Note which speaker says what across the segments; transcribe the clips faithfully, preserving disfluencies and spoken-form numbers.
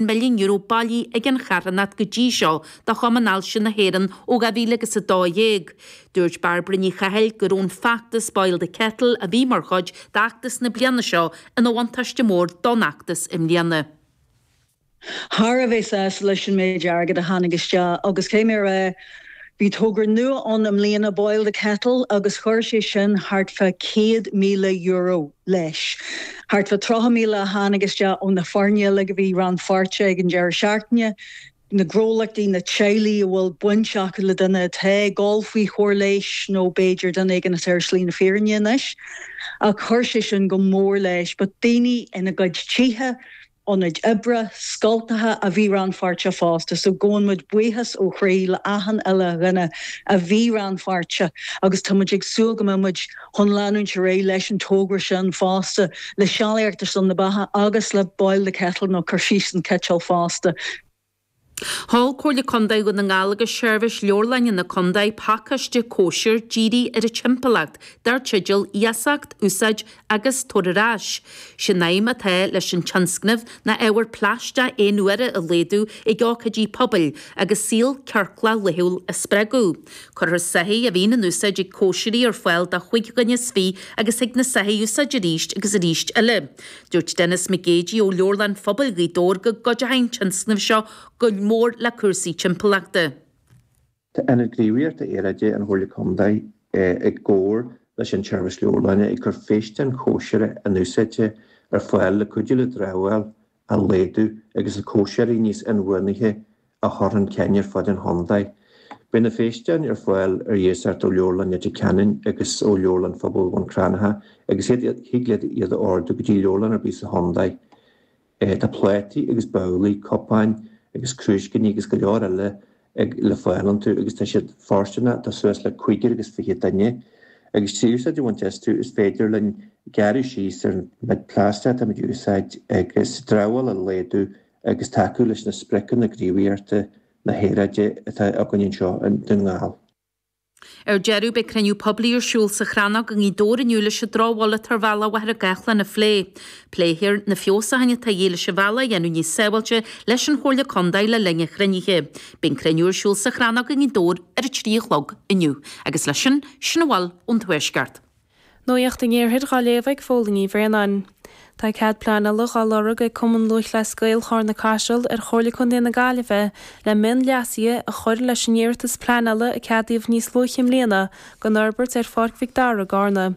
Speaker 1: milliún euro bailithe ag an charthanacht go dtí seo do Chumann Ailse na hÉireann ó dhá mhíle agus a dó dhéag. Dúirt Bairbre Ní Chathail go raibh an feachtas Boil the Kettle a bhí mar chuid d'fheachtas na bliana seo ina bhuntáiste mór don fheachtas i mbliana.
Speaker 2: Thar a bheith sásta leis an méid airgid a tháinig isteach agus cé mé rá bhí togra nua ann i mbliana Boil the Kettle agus chuir sé sin thart fá céad míle euro leis. Thart fá tríocha míle a tháinig isteach ó na foirne uilig a bhí rannpháirteach ag an deireadh seachtaine, na gnólachtaí na teaghlaigh a bhfuil baint acu le duine atá ag dul faoi chóir leighis nó b'fhéidir duine éigin atá ar shlí na fírinne anois. Ach chuir sé sin go mór leis, but daoine ina gcuid tithe, ionaid oibre, scoltacha a bhí rannpháirteach fosta, so gabhann muid buíochas ó chroí le achan uile dhuine a bhí rannpháirteach agus tá muid ag súil go mbeidh muid chun leanúint ar aghaidh leis an togra sin fosta, le Sealaíocht ar son na Beatha agus le Boil the Kettle nó cur síos an citeal fosta.
Speaker 1: Sheol Comhairle Contae Dhún na nGall agus Seirbhís Leabharlainne na Contae pacáiste cóisir dírithe ar an timpeallacht dar teideal Iasacht, Úsáid agus Tabhair ar ais. Sin aidhm atá leis an tionscnamh ná ábhar plaisteach aon uaire a laghdú ag ócáidí pobail agus saol ciorclach laethúil a spreagadh. Cuirfear soithí a bhíonn in úsáid ag cóisirí ar fáil do chúig dhuine is fiche agus thig na soithí a úsáid arís agus arís eile. Dúirt Denis Mac Géidigh ó Leabharlann Phobail Ghaoth Dobhair go gcuideoidh an tionscnamh seo go mór le cúrsaí timpeallachta.
Speaker 3: Tá Ionad Gníomhaíochta Aeráide an Chomhairle Contae i gcomhar leis an tSeirbhís Leabharlainne ag cur físeáin chóisire in-úsáidte ar fáil le cuidiú le dramhaíl a laghdú agus le cóisirí níos inbhuanaithe a chur chun cinn ar fud an chontae. Beidh na físeáin ar fáil ar iasacht ó Leabharlann Leitir Ceanainn agus ó Leabharlann Phobail Bhun Cranncha agus thig leat iad a ordú go dtí leabharlann ar bith sa chontae. Tá plátaí agus babhlaí, cupáin agus crúiscíní agus go leor eile le fáil iontu agus tá siad fóirsteanach do suas le cúigear agus fiche duine. Agus trí úsáid a bhaint astu is féidir linn gearradh síos ar an méid plaisteach atá muid a úsáid agus dramhaíl a laghdú agus tacú leis na spriocanna gníomhaíochta na haeráide atá againn anseo i nDún na nGall.
Speaker 1: Ar deireadh, beidh cruinniú poiblí ar siúl sa Chrannóg i nGaoth Dobhair inniu leis an drochbhail atá ar bhealach Mhachaire Gathlán a phlé. Pléifear na feabhsúcháin atá de dhíth leis an bhealach a dhéanamh níos sábháilte leis an Chomhairle Contae le linn an chruinnithe. Beidh an cruinniú ar siúl sa Chrannóg i nGaoth Dobhair ar a trí a chlog inniu. Agus leis sin, sin a bhfuil ón Tuaisceart.
Speaker 4: Nuacht an Iarthair á léamh ag Fódhla Ní Bhraonáin. Tá cead pleanála á lorg ag Cumann Lúthchleas Gael Charna Caiseal ar Chomhairle Contae na Gaillimhe le mionleasuithe a chur leis an iarratas pleanála a ceadaíodh níos luaithe i mbliana don fhorbairt ar Pháirc Mhic Dara i gCarna.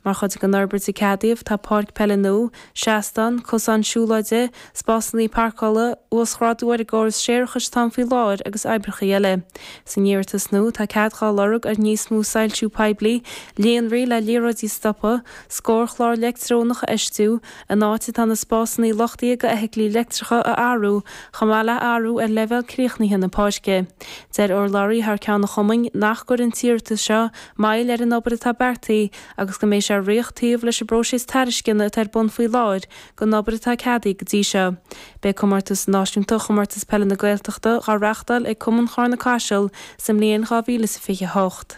Speaker 4: Mar chuid den fhorbairt a ceadaíodh tá páirc peile nua, seastán, cosán siúlóide, spásanna páirceála, uasghrádú ar an gcóras séarachais atá ann faoi láthair agus oibreacha eile. San iarratas nua tá cead á lorg ar níos mó soilsiú poiblí, líonraí le liathróidí stoptha, scórchlár leictreonach a fheistiú, an áit atá na spásanna luchtaithe do fheithiclí leictreacha a athrú, chomh maith le athrú ar leibhéal críochnaithe na páirce. Deir urlabhraí thar ceann an chumainn nach gcuireann an t-iarratas seo moill ar an obair atá beartaithe agus go mbeidh sé ag rith taobh leis an bpróiseas tairisceana atá ar bun faoi láthair don obair atá ceadaithe go dtí seo. Beidh comórtas náisiúnta Chomórtas Peile na Gaeltachta á reáchtáil ag Cumann Charna Caiseal sa mbliain dhá mhíle is fiche a hocht.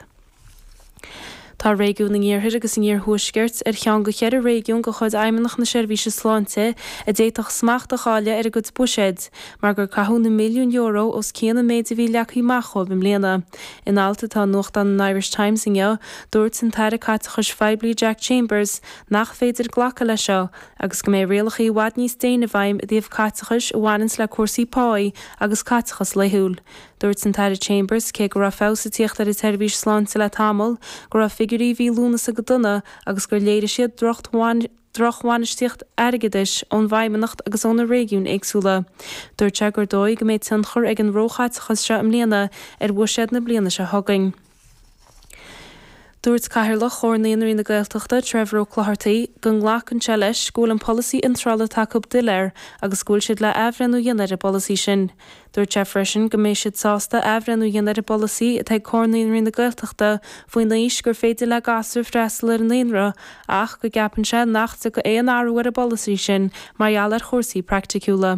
Speaker 4: Tá réigiún an Iarthair agus an Iarthuaiscirt ar cheann de cheithre réigiún de chuid Fheidhmeannacht na Seirbhíse Sláinte a d'fhéadfadh smacht a chailleadh ar a gcuid buiséid, mar gur caitheadh na milliúin euro os cionn an méid a bhí leagtha amach dóibh i mbliana. In alt atá i nuachtán an Irish Times inniu, dúirt an tAire Caiteachais Phoiblí Jack Chambers nach féidir glacadh leis seo agus go mbeidh rialacha i bhfad níos déine i bhfeidhm i dtaobh caiteachais a bhaineanns le cúrsaí páí agus caiteachas laethúil. Dúirt an tAire Chambers, cé go raibh feabhas ag tíocht ar an tseirbhís sláinte le tamall, go raibh figiúirí mhí Lúnasa go dona agus gur léirigh siad drochbhainistíocht airgeadais ón bhFeidhmeannacht agus ó na réigiúin éagsúla. Dúirt sé gur dóigh go mbeidh tionchar ag an róchaiteachas seo i mbliana ar bhuiséad na bliana seo chugainn. Dúirt Cathaoirleach Chomhar Naíonraí na Gaeltachta, Trevor Ó Clochartaigh, go nglacann sé leis go bhfuil an polasaí iontrála atá acu doiléir agus go bhfuil siad le athbhreithniú a dhéanamh ar an bpolasaí sin. Dúirt sé freisin go mbeidh siad sásta athbhreithniú a dhéanamh ar an bpolasaí atá ag Comhar Naíonraí na Gaeltachta faoin aois gur féidir le gasúir freastal ar an naíonra ach go gceapann sé nach dtiocfaidh aon athrú ar an bpolasaí sin mar gheall ar chúrsaí praiticiúla.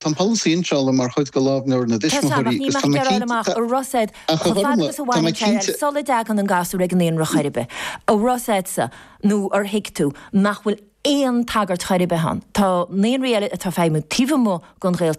Speaker 5: Tá an polasaí iontrála mar chuid de Lámhleabhar na
Speaker 6: Tá
Speaker 5: dTuismitheoirí
Speaker 6: ach níl
Speaker 5: agus
Speaker 6: mé
Speaker 5: tá
Speaker 6: ag
Speaker 5: mé
Speaker 6: gearán
Speaker 5: cinnte,
Speaker 6: amach, a raibh siad
Speaker 5: ach a
Speaker 6: chomh fada
Speaker 5: Ghormfhlaith,
Speaker 6: agus a
Speaker 5: tá mé
Speaker 6: bhaineann sé
Speaker 5: cinnte,
Speaker 6: sula dtagann an gasúr ag an naíonra chor ar bith, a raibh siadsa nó ar thuig tú nach bhfuil aon tagairt chor ar bith ann. Tá naíonraí eile atá ag feidhmiú taobh amuigh den Ghaeltacht.